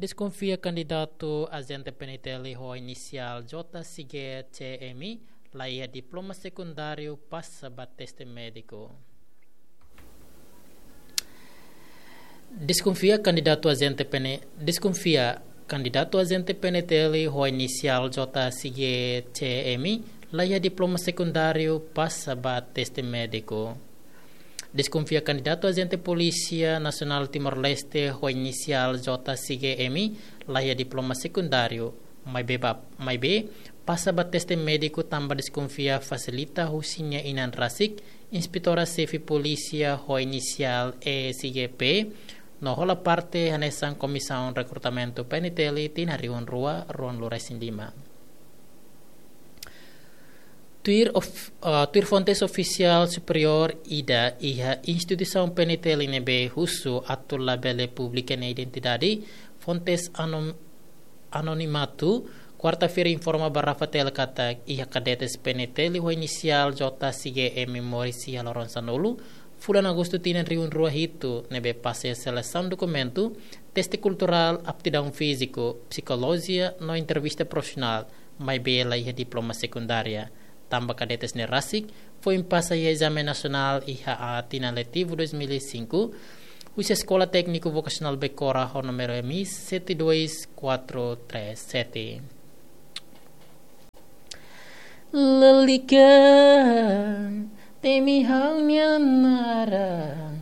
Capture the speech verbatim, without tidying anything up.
Deskonfia kandidatu ajente P N T L ho inisiál J C G C M, la iha diploma sekundáriu, pasa ba teste médiku. Deskonfia kandidatu ajente P N, deskonfia kandidatu ajente P N T L ho inisiál J C G C M, la iha diploma sekundáriu, pasa ba teste médiku. Deskonfia kandidatu ajente Polísia Nasionál Timor-Leste ho inisiál J C G M, la iha diploma sekundáriu, maibé ba, maibé pasa ba teste médiku tanba deskonfia fasilita husi nia inan rasik, Inspetora Xefe Polísia ho inisiál E C G P, no hola parte hanesan Komisaun Rekrutamentu P N T L tinan rihun rua ruanulu-resin-lima. Tuir of, ah, tuir fontes ofisiál superiór ida iha instituisaun P N T L ne'ebé husu atu labele publika nia identidade, fontes anom-, anonimatu, kuarta-feira informa ba Rafatel katak iha kadetes P N T L ho inisiál J C G M moris iha loron sanulu, fulan Agostu tinan rihun rua hitu, ne'ebé pasa iha selesaun dokumentu, teste kulturál, aptidaun fíziku, psikolojia no entrevista profisionál, maibé la iha diploma sekundária. Tanba kadetes ne'e rasik foin pasa iha ezame nasionál iha tinan letivu dois mil e cinco, husi Eskola Tékniku Vokasionál Becora ho númeru M I sete dois quatro três sete. Lalika, temi ha'u-nia naran.